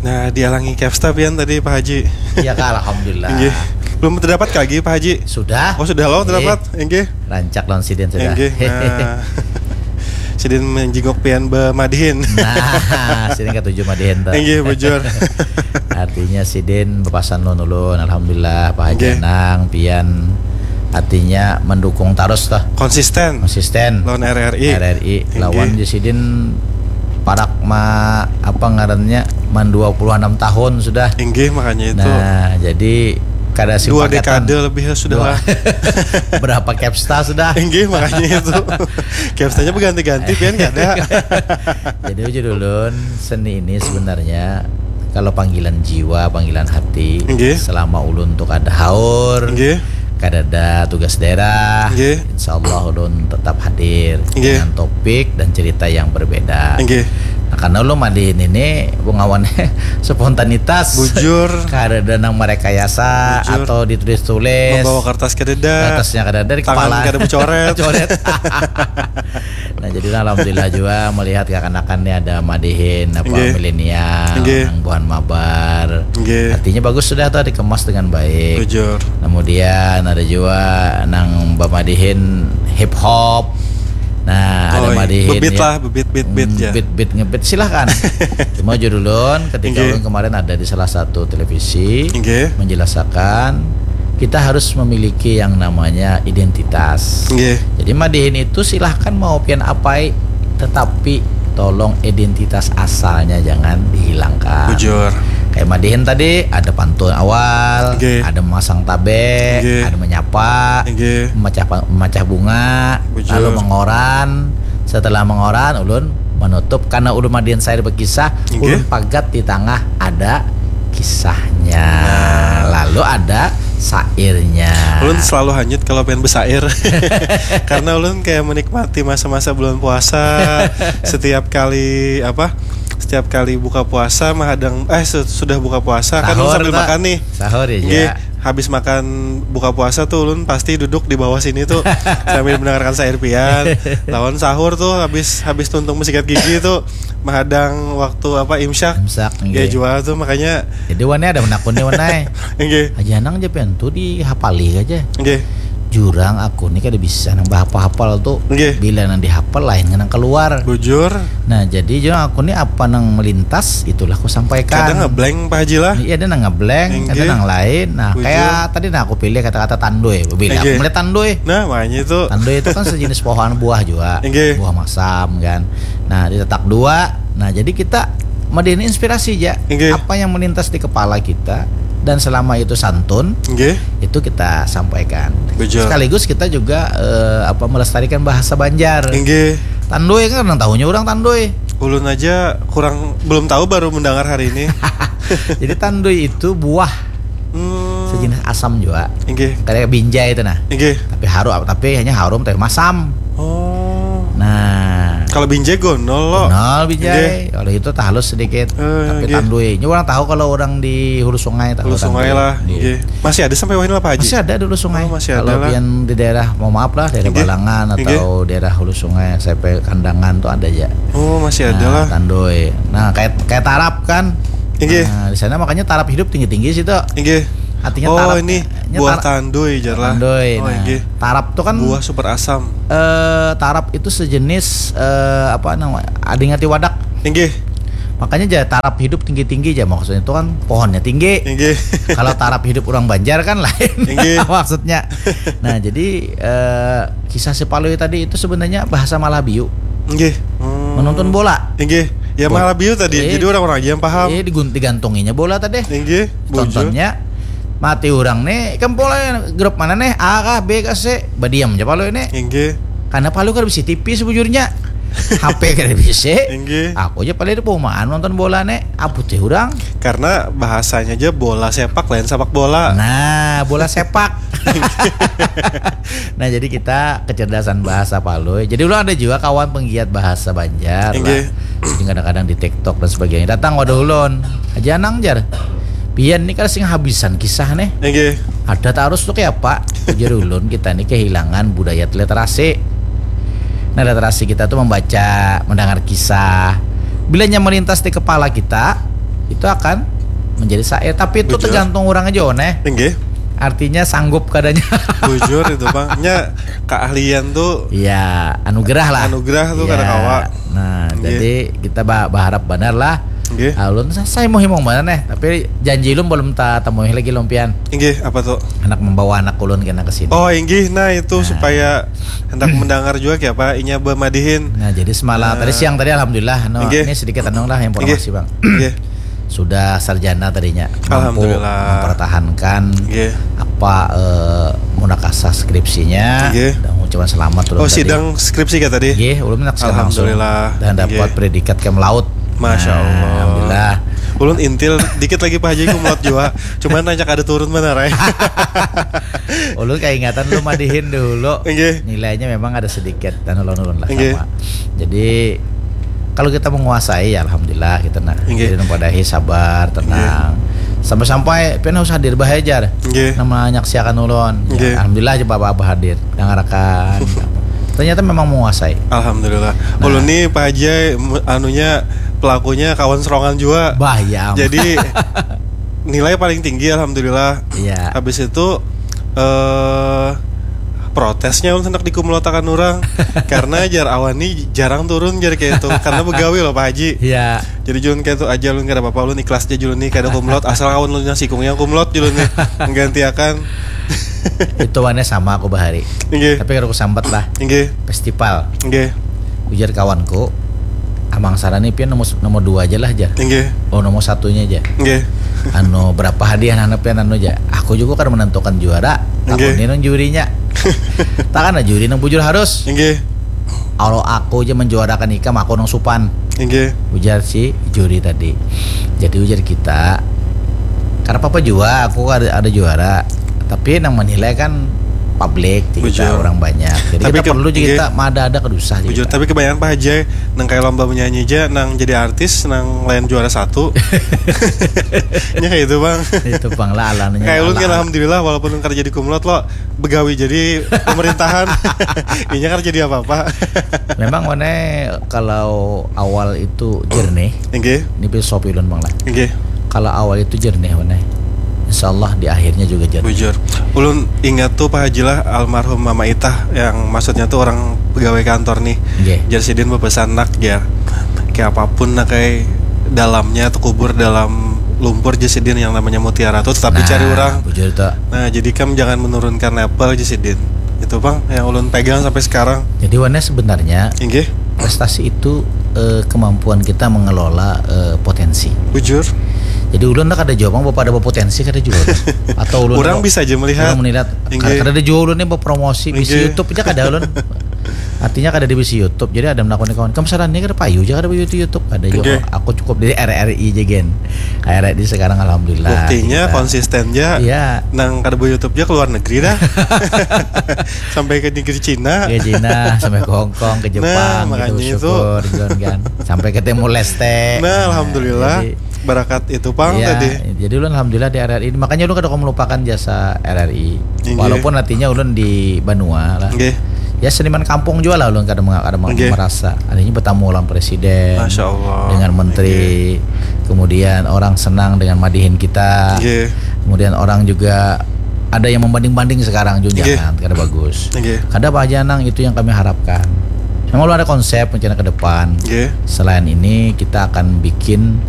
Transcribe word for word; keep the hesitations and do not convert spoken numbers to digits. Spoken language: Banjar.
Nah, dialangi Kevsta pian tadi, Pak Haji. Iya kah, alhamdulillah. Inggih. Belum terdapat lagi, Pak Haji. Sudah. Oh, sudah lo Inggih. Terdapat. Inggih. Rancak lawan sidin sudah. Inggih. Nah. Sidin menjenguk pian bemadihin. Nah, sidin katuju madihin tuh. Inggih, bujur. Artinya sidin bepasan lawan ulun, alhamdulillah Pak Haji Inggih. Anang pian artinya mendukung terus tuh. Konsisten. Konsisten. Lawan R R I. R R I Inggih. Lawan di sidin parak ma apa ngarannya man dua puluh enam tahun sudah. Inggih, makanya itu. Nah, jadi kada Dua simpaketan. Dekade lebih sudah Dua. Lah. Berapa Kevsta sudah? Inggih, makanya itu. Kevstanya berganti-ganti, pian kada. Jadi ujar ulun, seni ini sebenarnya kalau panggilan jiwa, panggilan hati, Inggih. Selama ulun tuh kada haur, Inggih. Kada ada tugas daerah, Inggih. Insya Allah ulun tetap hadir Inggih. Dengan topik dan cerita yang berbeda. Inggih. Nah, karena ulun madihin ini pengawannya spontanitas. Bujur. Kada ada nang merekayasa Bujur. Atau ditulis-tulis. Membawa kertas kada ada. Kertasnya kada ada di Tangan kepala. Kada bocoret. Coret. Nah, jadi alhamdulillah juga melihat kekanakan ini ada madihin apa Inggih. Milenial, Inggih. Nang buhan mabar. Inggih. Artinya bagus sudah tuh dikemas dengan baik. Bujur. Kemudian ada juga nang bamadihin hip hop. Nah, ada Oh, madihin bebit ya. Lah, bebit, bebit, bebit Hmm, ya. Bit bit ngebit silahkan. Cuma judulun ketika Inggih. Ulun kemarin ada di salah satu televisi Inggih. Menjelaskan kita harus memiliki yang namanya identitas. Inggih. Jadi madihin itu silahkan mau pian apai, tetapi tolong identitas asalnya jangan dihilangkan. Bujur. Kayak madihin tadi ada pantun awal, Inggih. Ada memasang tabe, Inggih. Ada menyapa, Inggih. Memecah memecah bunga, Bujur. Lalu mengoran. Setelah mengoran, ulun menutup karena ulun madihin saya berkisah, Inggih. Ulun pagat di tengah ada kisahnya. Nah. Lalu ada sairnya. Ulun selalu hanyut kalau pengen bersair. Karena ulun kayak menikmati masa-masa bulan puasa. Setiap kali apa? Setiap kali buka puasa menghadang eh sudah buka puasa kan ulun sambil makan nih. Sahur ya. Nggih, habis makan buka puasa tuh ulun pasti duduk di bawah sini tuh sambil mendengarkan sair pian. Lawan sahur tuh habis habis tuntung mensikat gigi tuh menghadang waktu apa imsak. Imsak. Ya jual tuh makanya. Jadi wani ada menakuni wanai. Nggih. Aja nang je pian tuh dihapali aja. Nggih. Jurang aku ni kada bisa nang bahapal-hapal tu. Nggih. Bila nang dihapal lain nang keluar. Bujur. Nah, jadi jurang aku ni apa nang melintas itulah ku sampaikan. Kadang ngeblank Pak Haji lah. Iya, ada nang ngeblank, ada nang lain. Nah, kayak tadi nah aku pilih kata-kata tandui. Bila aku melihat tandui. Nah, makanya itu. Tandui itu kan sejenis pohon buah juga. Nggih. Buah masam kan. Nah, ditetak dua. Nah, jadi kita madihin inspirasi aja. Nggih. Apa yang melintas di kepala kita dan selama itu santun, nggih, itu kita sampaikan. Bujur. Sekaligus kita juga eh, apa melestarikan bahasa Banjar. Nggih. Tandui kan kadang tahunya orang tandui. Ulun aja kurang belum tahu baru mendengar hari ini. Jadi tandui itu buah. Hmm. Sejenis asam juga. Nggih. Kayak binjai itu nah. Nggih. Tapi harum tapi hanya harum tapi masam. Oh. Nah. Kalau binjai gonol lo. Gonol binjai. Nggih. Kalau itu tak halus sedikit. Eh, tapi nggih. Tandui. Ini orang tahu kalau orang di hulu sungai tahu. Hulu sungai lah. Nggih. Masih ada sampai wahini lah Pak Haji? Masih ada di hulu sungai. Oh, masih ada. Kalau lah. Pian di daerah, mohon maaf lah, daerah Balangan atau daerah hulu sungai sampai Kandangan tuh ada aja. Oh, masih ada lah. Nah, tandui. Nah, kayak kayak tarap kan. Nggih. Nah, di sana makanya tarap hidup tinggi-tinggi situ. Nggih. Artinya oh, tarap ini buah tandui jar lah. Tandui. Oh, nah, nggih. Tarap tuh kan buah super asam. Eh, tarap itu sejenis eh, apa namanya? Ading ati wadak. Nggih. Makanya aja tarap hidup tinggi-tinggi aja maksudnya itu kan pohonnya tinggi. Nggih. Kalau tarap hidup orang Banjar kan lain. Nggih. Maksudnya. Nah, jadi eh, kisah si Palui tadi itu sebenarnya bahasa Malabiu. Nggih. Hmm. Menonton bola. Nggih. Ya Malabiu tadi. Eh, jadi orang-orang aja yang paham. Eh, digantunginya bola tadi. Nggih. Tontonnya mati orang nih kan pola grup mana nih A kah B kah C badiam aja palu ini. Inggih. Karena palu kada bisa T V sebujurnya. H P kada bisa. Inggih. Aku aja paling di perumahan nonton bola nih. Apa teh orang? Karena bahasanya aja bola sepak lain sepak bola. Nah, bola sepak. Nah, jadi kita kecerdasan bahasa palu. Jadi lu ada juga kawan penggiat bahasa Banjar. Inggih. Lah. Jadi kadang-kadang di TikTok dan sebagainya. Datang wadah ulun. Aja nang jar. Pian nih kada sing habisan kisah nih. Inggih. Ada tarus tuh kayak apa? Ujar ulun kita nih kehilangan budaya literasi. Nah, literasi kita tuh membaca, mendengar kisah. Bilanya melintas di kepala kita, itu akan menjadi syair. Tapi itu Bujur. Tergantung orang aja, One. Inggih. Artinya sanggup kadanya. Bujur itu, Bang. Nya keahlian tuh Ya, anugerah lah. Anugerah tuh Ya. Kada kawa. Nah, Inggih. Jadi kita ba- berharap benar lah. Inggih. Ah, ulun sa- saya mau himung mana nih, tapi janji ulun belum tak temui lagi lompian. Inggih, apa tuh? Anak membawa anak ulun kena ke sini. Oh, inggih. Nah, itu supaya hendak mendengar juga kayak apa inya bemadihin. Nah, jadi semalam tadi siang tadi alhamdulillah, no, Inggih. Ini sedikit anu lah informasi, Inggih. Bang. Inggih. Sudah sarjana tadinya, mampu Alhamdulillah. Mempertahankan Inggih. Apa eh, munakasah skripsinya. Inggih. Dan mengucapkan selamat ulun Oh, tadi. Sidang skripsi kayak tadi. Inggih, ulun nak siap langsung. Alhamdulillah. Dan dapat Inggih. Predikat cum laude. Masya Nah, Allah. Alhamdulillah. Ulun intil dikit lagi Pak Haji cum laude juga. Cuman rancak ada turun mana, Rai? Ulun kaingatan lu madihin dulu. Inggih. Nilainya memang ada sedikit dan ulun-ulun lah Inggih. Sama. Jadi kalau kita menguasai ya alhamdulillah kita nak. Inggih. Jadi padahi sabar, tenang. Sampai-sampai pian harus hadir bahajar. Inggih. Nama nyaksiakan ulun. Inggih. Ya, alhamdulillah aja bapak-bapak hadir, dengarkan. Ternyata memang menguasai. Alhamdulillah. Nah. Ulun nih Pak Haji mu- anunya pelakunya kawan serongan juga. Bah, ya ampun. Jadi nilai paling tinggi alhamdulillah. Iya. Habis itu eh protesnya ulun hendak dikumlotakan orang karena jar awan nih jarang turun jar kayak itu karena begawi loh Pak Haji. Iya. Jadi ulun kayak itu aja ulun kada apa-apa ulun ikhlas aja ulun nih kada cum laude asal awan ulun yang sikungnya cum laude ulun nih menggantiakan. Itu wane sama aku bahari. Inggih. Tapi kalau aku sambat lah Inggih. Festival. Inggih. Ujar kawanku, Amang Sarani pian nomor nomor dua aja lah jar. Inggih. Oh, nomor satunya aja. Inggih. Anu berapa hadiah nana pian anu aja. Aku juga kada menentukan juara. Aku Inggih. Ni nang jurinya. Tak kan juri nang bujur harus. Inggih. Kalau aku aja menjuarakan ikam, aku nang supan. Inggih. Ujar si juri tadi. Jadi ujar kita, karena apa juga aku ada, ada juara. Tapi yang menilai kan publik, kita Bujur. Orang banyak. Jadi Tapi kita ke- perlu juga inggih. Kita ada ada kedusa Bujur, kita. Tapi kebanyakan Pak Haji nang kayak lomba menyanyi aja, nang jadi artis, nang lain juara satu. Nya kayak itu bang. Itu bang lah alannya. Kayak ulun kan Alan. Alhamdulillah walaupun ulun kerja di cum laude lo begawi jadi pemerintahan. Inya kan jadi apa-apa. Memang mana kalau awal itu jernih, Inggih. Ini filosofi ulun bang lah. Inggih. Kalau awal itu jernih mana, insya Allah di akhirnya juga jernih. Bujur. Ulun ingat tuh Pak Haji lah almarhum Mama Itah yang maksudnya tuh orang pegawai kantor nih. Inggih. Jar sidin berpesan nak jar. Kayak apapun nak kayak dalamnya tuh kubur dalam lumpur jar sidin yang namanya mutiara tuh tetapi Nah, cari orang. Bujur tuh. Nah, jadi kam jangan menurunkan level jar sidin. Itu bang yang ulun pegang sampai sekarang. Jadi Wana sebenarnya Inggih. Prestasi itu eh, kemampuan kita mengelola eh, potensi. Bujur. Jadi ulun lah kada jua bang bapak ada potensi kada jua. Atau ulun Orang apa- bisa aja melihat. Orang melihat Inggih. kada, kada jua ulun ini berpromosi bisi Inggih. YouTube aja kada ulun. Artinya kada di bisi YouTube. Jadi ada menakuni kawan, "Kamu saran ini kada payu aja kada di YouTube." Kada juga. Inggih. Aku cukup di R R I aja gen. R R I sekarang alhamdulillah. Buktinya Kita- konsisten aja. Iya. Nang kada di YouTube aja keluar negeri dah. Sampai ke negeri Cina. Ke Cina, sampai ke Hong Kong, ke Jepang, Nah, makanya gitu, itu. Syukur, gitu kan. Sampai ke Timor Leste. Nah, alhamdulillah Jadi, barakat itu pang iya, tadi. Jadi ulun alhamdulillah di R R I. Makanya ulun kada mau melupakan jasa R R I. Inggih. Walaupun artinya ulun di banua lah. Inggih. Ya seniman kampung juga lah ulun kada menga- kada meng- Inggih. merasa. Artinya bertamu lawan presiden, Masya Allah. dengan menteri, kemudian orang senang dengan madihin kita. Inggih. Kemudian orang juga ada yang membanding-banding sekarang juga Inggih. jangan kada bagus. Inggih. Kada apa aja nang itu yang kami harapkan. Memang belum ada konsep rencana ke depan. Inggih. Selain ini kita akan bikin